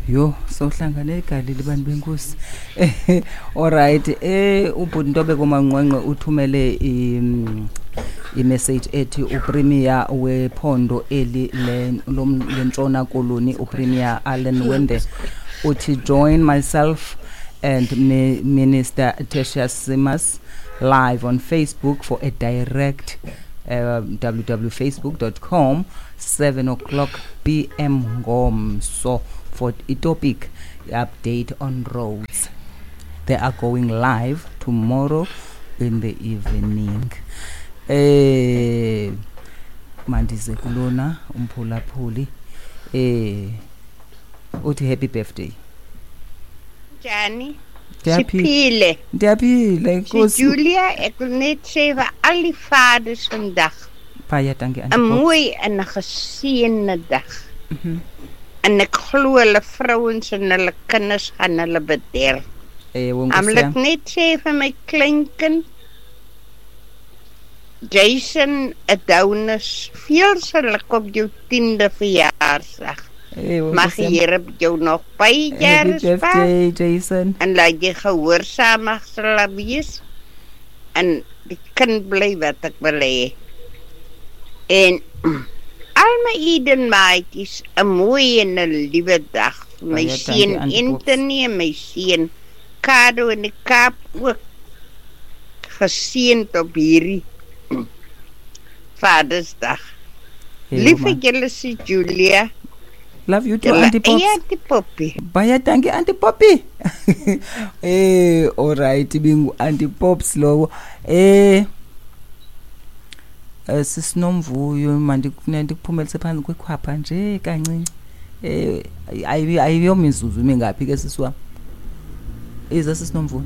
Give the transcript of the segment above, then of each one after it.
Yho, sohlangana eGalili bantu benkosi. Alright, ubhuti Ntobeko Manqwanqwe uthumele i-message ethi uPremier wephondo eli lentshona koloni, uPremier Alan Winde, uthi join myself and Minister Tertuis Simmers live on Facebook for a direct www.facebook.com 7 o'clock pm ngomso for i-topic update on roads. They are going live tomorrow in the evening. Mandize kulona umphulaphuli, uthi happy birthday. Njani? Siphile. Ndiyaphila, enkosi. Julia, ek wil net sê vir al die vaders vandag. Baie dankie, Auntie 'n Pops. Mooi en 'n geseënde dag. En ek glo hulle vrouens en hulle kinders gaan hulle bederf. Ewe, Dan wil Nkosi ek yam. net sê vir my kleinkind Jason Adonis, veel geluk op jou 10de verjaarsdag. Ewe, Mag Nkosi yam. die Here jou nog baie Happy jare spaar. birthday, Jason. En laat jy gehoorsaam mag sal wees. En die kind bly wat ek wil hê. En al my Eden maatjies, 'n mooi en 'n liewe dag. My Baie dankie, seun Auntie Pops. Anthony en my seun Kado in die Kaap ook geseënd op hierdie Vadersdag. Hey, Lief oma. vir julle, sê Julia. Love you too, Julle Auntie Pops. eie Auntie Poppy. Baie dankie, Auntie Poppy. All right, bingu Auntie Pops lowo. Sisinomvuyo, mandikuphumelise phantsi kwekhwapha nje kancinci. Ayiyomizuzu imingaphi ke sisi wam? Ize sisinomvuyo.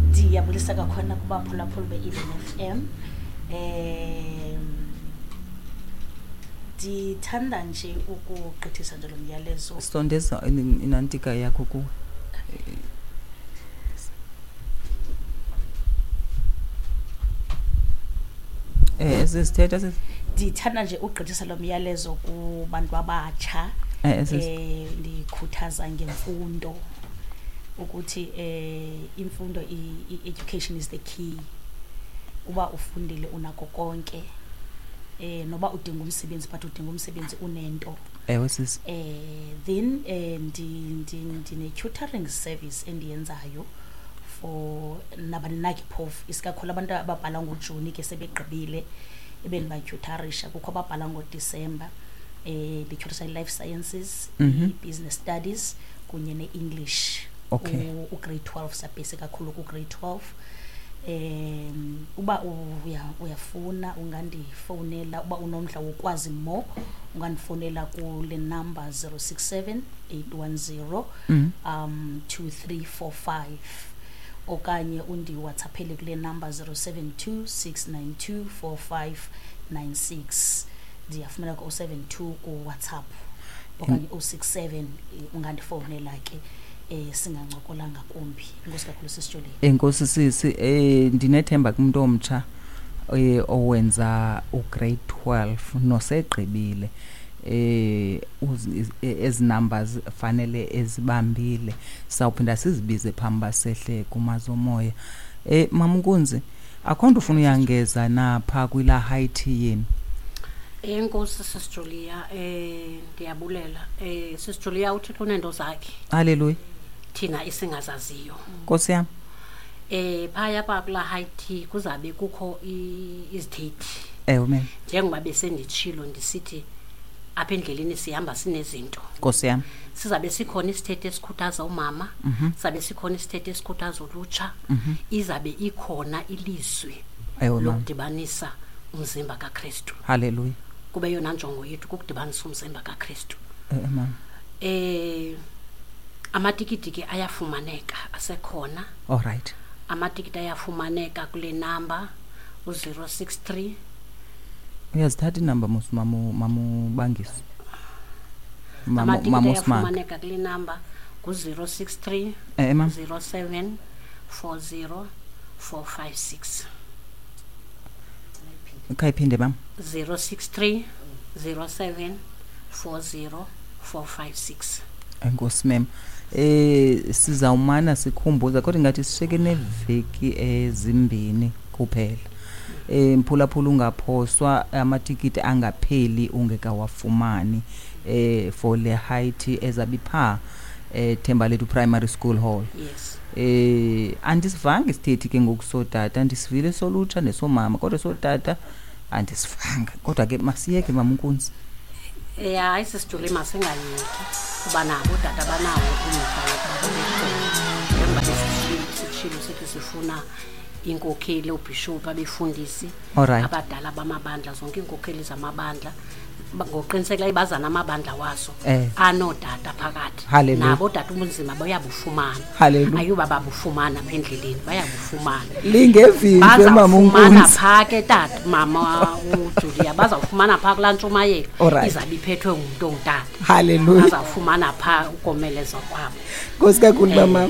Ndiyabulisa kakhona kubaphulaphuli be-Eden FM. Ndithanda nje ukugqithisa nje lo myalezo. Sondeza inantika yakho kuwe. Sisithetha sisi. Ndithanda nje ukugqithisa lo myalezo kubantu abatsha. Sisi. Ndikhuthaza ngemfundo ukuthi imfundo, education is the key. Uba ufundile unako konke. Noba udinga umsebenzi, but udinga umsebenzi unento. Ewe sisi. Then ndine tutoring service endiyenzayo for nabani na ke phofu, isikakhulu abantu ababhala ngoJuni ke sebegqibile ebendibatyutarisha. Kukho ababhala ngoDisemba. Ndityutarisa i-life sciences, i-business studies kunye ne-English. U-grade 12, sabhesi kakhulu ku-grade 12. Uba uyafuna ungandifowunela, uba unomdla wokwazi more ungandifowunela kule number 067 810 2345, okanye undi-WhatsAppele kule number 072 692 4596. Ndiyafumana ku 072 ku WhatsApp okanye 067, ungandifowunela ke. Singancokola ngakumbi. Enkosi kakhulu sisiJulia. Enkosi sisi, ndinethemba kumntu omtsha owenza ugrade 12 nosegqibile, ezi numbers fanele ezibambile, sawuphinda sizibize phambi basehle kumazomoya. Mama Nkunzi, akho nto ufuna uyangeza napha kwila high tea yenu? Enkosi sisiJulia, ndiyabulela. SisiJulia, uThixo uneento zakhe. Haleluya. Thina esingazaziyo. Nkosi yam. Phaya pha kula high tea kuzabe kukho izithethi. Ewe, ma'am. Njengoba besenditshilo ndisithi apha endleleni sihamba sinezinto. Nkosi yam. Sizabe sikhona isithethi esikhuthaza umama, sizabe sikhona isithethi esikhuthaza ulutsha, izabe ikhona ilizwi Ewe, ma'am. lokudibanisa umzimba kaKristu. Haleluya. Kube yona njongo yethu kukudibanisa umzimba kaKristu. Ewe, ma'am. Amatikiti ke ayafumaneka, asekhona. All right. Amatikiti ayafumaneka kule number u-063. Uyazithatha inamba mos mamu Bangiso. Amatikiti Mamu Smart. ayafumaneka kule number ngu-063 Ma'am. 07 40 456. Khayiphinde ma'am. 063 07 40 456. Enkosi mem. Sizawumana sikhumbuza, kodwa ingathi sishiyeke neveki ezimbini kuphela. Mphulaphula, ungaphoswa, amatikiti angapheli ungekawafumani for le high tea ezabe ipha Thembalethu Primary School Hall. Yes. Andisivanga isithethi ke ngoku sootata, ndisivile solutsha nesomama, kodwa sootata andisivanga. Kodwa ke masiyeke, mama uNkunzi. Ya, hayi sisijule, masingayeki, kuba nabo ootata banawo umdla wokuba babe khona. Njengoba sitshilo sithi sifuna iinkokheli, oobhishophu, abefundisi, abadala bamabandla, zonke iinkokheli zamabandla. Ngokuqinisekileyo bazana amabandla wazo anootata phakathi. Nabo ootata ubunzima bayabufumana. Ayuba babufumana apha endleleni, bayabufumana. Lingevimbe, mama Bazawufumana uNkunzi. phaa ke tata, mama uJulia, bazawufumana phaa kulaa ntshumayelo izabe iphethwe ngumntu ongutata. Bazawufumana phaa ukomelezwa kwabo. Nkosi kakhulu, mama.